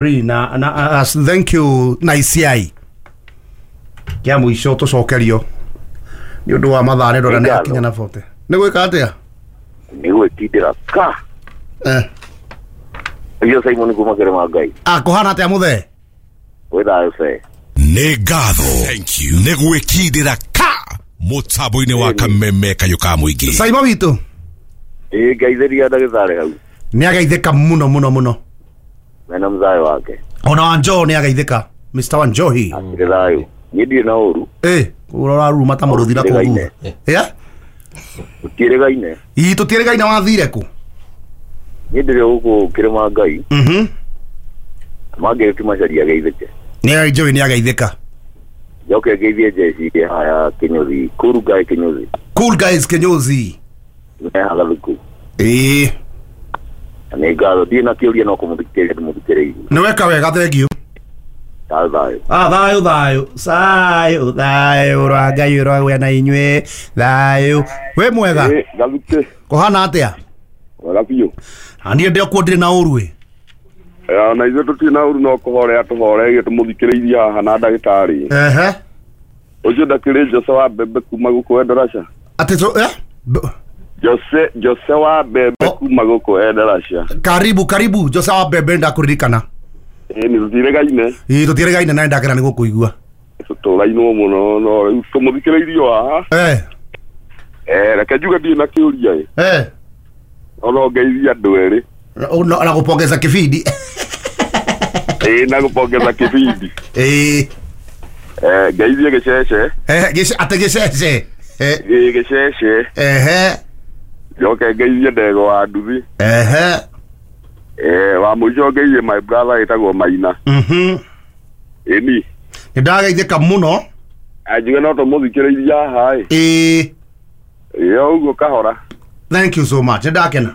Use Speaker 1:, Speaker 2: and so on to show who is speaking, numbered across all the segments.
Speaker 1: Na thank you na ICI kia mũico tũcokerio nĩ ũndũ wa mathaa nĩ ndona nĩ
Speaker 2: Nĩ
Speaker 1: akinya na 40 nĩ gwĩka atĩa?
Speaker 2: Nĩ gwĩtindĩra ka.
Speaker 1: Eh.
Speaker 2: Ũcio Simon kuma kĩrĩma Ngai.
Speaker 1: Ah, kũhana atĩa mũthee?
Speaker 2: Gwĩ thayũ ce.
Speaker 3: Nĩ ngatho nĩ gwĩkindĩra ka mũtambo-inĩ wa Kameme kayũ ka mũingĩ.
Speaker 1: Saimo witũ.
Speaker 2: Ĩĩ, ngeithĩria ndagĩtarĩ hau.
Speaker 1: Nĩ ageithĩka mũno mũno mũno.
Speaker 2: Mena mũthayũ wake.
Speaker 1: Ona Wanjoho nĩ ageithĩka, Mr Wanjohi.
Speaker 2: Akĩrĩ thayũ. Niĩ ndirĩ na ũru.
Speaker 1: Eh, ũraruruma ta mũrũthi na kũu thutha. Yeah?
Speaker 2: Tũtiĩrĩgaine.
Speaker 1: Ii, tũtiĩrĩgaine, wathire kũ?
Speaker 2: Niĩ ndĩrĩ gũkũ kĩrĩma Ngai. Mangĩrĩ ti macaria geithĩke.
Speaker 1: Nĩ Njohi nĩ ageithĩka.
Speaker 2: Njoke ngeithie njeci ĩrĩa haya kĩnyũthi. Kuru ngai kĩnyũthi.
Speaker 1: Cool guys kinyozi.
Speaker 2: Mehaga thuku.
Speaker 1: Ĩĩ.
Speaker 2: Na nĩ ngatho, ndirĩ na kĩũria, no kũmũthikĩrĩria ndĩmũthikĩrĩirie.
Speaker 1: Nĩ weka wega, thank you.
Speaker 2: Thayũ thayũ.
Speaker 1: Ah, thayũ thayũ thayũ thayũ rwa Ngai ũragĩa na inyuĩ thayũ wĩ mwega.
Speaker 4: Gathukĩ.
Speaker 1: Kũhana atĩa?
Speaker 4: Wega biũ.
Speaker 1: Na niĩ ndĩ okuo, ndĩrĩ na ũru ĩ.
Speaker 4: Ona ithuĩ tũtirĩ na ũru, no kũhorea tũhoreirie tũmũthikĩrĩirie haha na ndagĩtarĩ.
Speaker 1: Ehe.
Speaker 4: Ũcio ndakĩrĩ Jose wa mbembe kuma gũkũ Endarasha.
Speaker 1: Atĩ tũ eh?
Speaker 4: Jose wa mbembe.
Speaker 1: Oh.
Speaker 4: Kuma gũkũ Endarasha.
Speaker 1: Karibu karibu, Jose wa mbembe, ndakũririkana.
Speaker 4: Ĩ, nĩ tũtirĩgaine.
Speaker 1: Ĩ, tũtiĩrĩgaine na nĩndakena nĩ gũkũigua.
Speaker 4: Tũtũrainwo mũno, no rĩu tũmũthikĩrĩirie o haha.
Speaker 1: Eh.
Speaker 4: Eh, reke njuge ndirĩ na kĩũria ĩ.
Speaker 1: Eh.
Speaker 4: No no ngeithie andũ erĩ.
Speaker 1: Na gũpongeza kibindi.
Speaker 4: Ĩ, na gũpongeza kĩbindi.
Speaker 1: Ĩ.
Speaker 4: Eh, ngeithie gĩcece.
Speaker 1: Eh, atĩ gĩcece. Eh.
Speaker 4: Ĩ, gĩcece.
Speaker 1: Ehe.
Speaker 4: Njoke ngeithie ndego wa nduthi.
Speaker 1: Ehe.
Speaker 4: Eh, wa mũico ngeithie my brother ĩtagwo Maina. Ĩni.
Speaker 1: Nĩ ndageithĩka mũno.
Speaker 4: Anjuge no tũmũthikĩrĩirie haha ĩ.
Speaker 1: Ĩ.
Speaker 4: Ĩ, o ũguo kahora.
Speaker 1: Thank you so much, nĩ ndakena.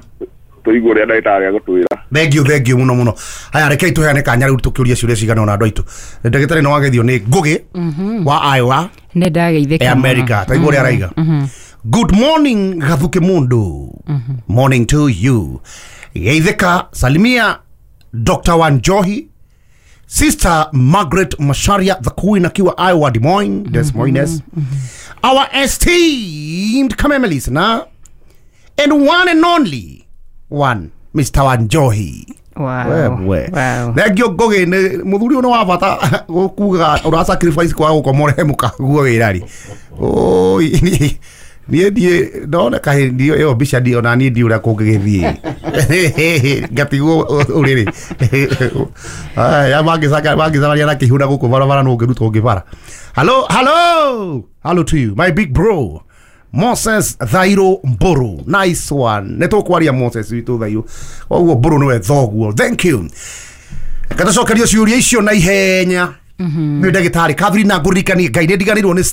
Speaker 4: Tũigue ũrĩa ndagĩtarĩ agũtwĩra.
Speaker 1: Thank you, thank you mũno mũno. Haya, rekei tũheane kanya rĩu tũkĩũria ciũria cigana ũna andũ aitũ. Ndagĩtarĩ nĩ wageithio nĩ Ngũgĩ wa Iowa.
Speaker 5: Nĩ ndageithĩka
Speaker 1: e
Speaker 5: mũno.
Speaker 1: America. Taigua ũrĩa araiga: "Good morning, Gathuke mundu." Morning to you. "Geithĩka, salimia Dr Wanjohi, Sister Margaret Masharia, the Queen, akiwa Iowa, Des Moines, Des Moines, our esteemed Kameme listener and one and only one, Mr Wanjohi."
Speaker 5: Wow.
Speaker 1: We.
Speaker 5: Wow.
Speaker 1: Thengio Ngũgĩ, nĩ mũthuri ũyũ nĩ wa bata gũkuga ũra sacrifice kwaga gũkoma ũrehe mũkaguo wĩra rĩ. Oi, niĩ ndiĩ ndona kahĩ ndiĩ ĩyo mbica ndiĩ ona niĩ ndiĩ ũrĩa kũngĩgĩthiĩ ngatigwo ũrĩrĩ. Aya mangĩcemania na kĩhiũ na gũkũ barabara no ũngĩrutwo ũngĩbara. Hello, hello, hello to you, my big bro Moses Thairo Mburu. Nice one. Nĩ tũkwaria Moses witũ Thairo, koguo Mburu nĩwe thoguo. Thank you. Reke ciũria icio na ihenya nĩ ndagĩtarĩ Catherine, na ngũririkanie Ngai nĩ ndiganĩirwo nĩ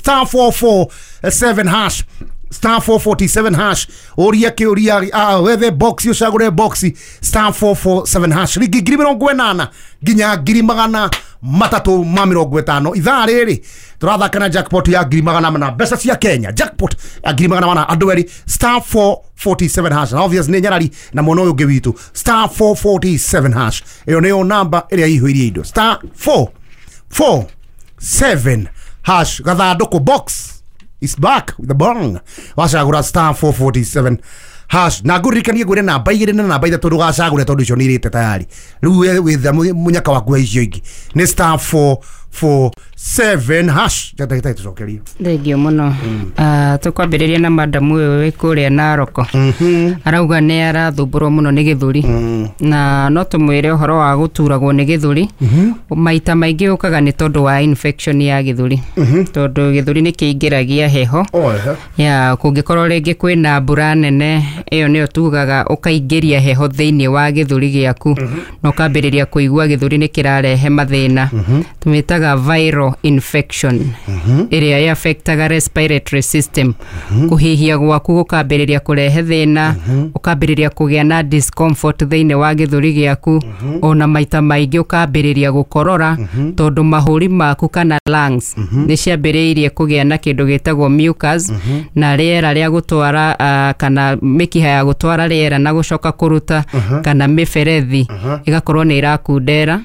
Speaker 1: *447#, *447#. Ũria kĩũria, ah, wethe box, ũcagũre box, *447# ringi 80,000 nginya 350,000. Ithaa rĩrĩ tũrathaka na jackpot ya 400,000 mbeca cia Kenya, jackpot ya 400,000, andũ erĩ, *447# na obvious nĩ nyarari na mwena ũyũ ũngĩ witũ. *447# ĩyo nĩyo namba ĩrĩa ihũirie indo, *447# gathandũkũ box is back with the bong. Wacagũra *447# na ngũririkanie ngwĩre namba igĩrĩ na namba ithatũ ndũgacagũre tondũ icio nĩ irĩte tayari. Rĩu we wĩtha mũnyaka waku wa icio ingĩ nĩ *447#. Ndagĩtarĩ, tũcokerie.
Speaker 5: Thengio mũno. Ah, tũkwambĩrĩria na madamu ũyũ wĩ kũrĩa Naroko. Arauga nĩ arathumbũrwo mũno nĩ gĩthũri, na no tũmwĩre ũhoro wa gũturagwo nĩ gĩthũri maita maingĩ ũkaga nĩ tondũ wa infection ya gĩthũri, tondũ gĩthũri nĩ kĩingĩragia heho.
Speaker 1: Oh, ehe.
Speaker 5: Ya kũngĩkorwo rĩngĩ kwĩna mbura nene, ĩyo nĩyo tugaga ũkaingĩria heho thĩinĩ wa gĩthũri gĩaku na ũkambĩrĩria kũigua gĩthũri nĩ kĩrarehe mathĩna. Tũmĩtaga viral infection ĩrĩa ĩ affectaga respiratory system, kũhihia gwaku gũkambĩrĩria kũrehe thĩna, ũkambĩrĩria kũgĩa na discomfort thĩinĩ wa gĩthũri gĩaku, ona maita maingĩ ũkambĩrĩria gũkorora tondũ mahũri maku kana lungs nĩ ciambĩrĩirie kũgĩa na kĩndũ gĩtagwo mucus na rĩera rĩa gũtwara, kana mĩkiha ya gũtwara rĩera na gũcoka kũruta, kana mĩberethi ĩgakorwo nĩ ĩrakundera.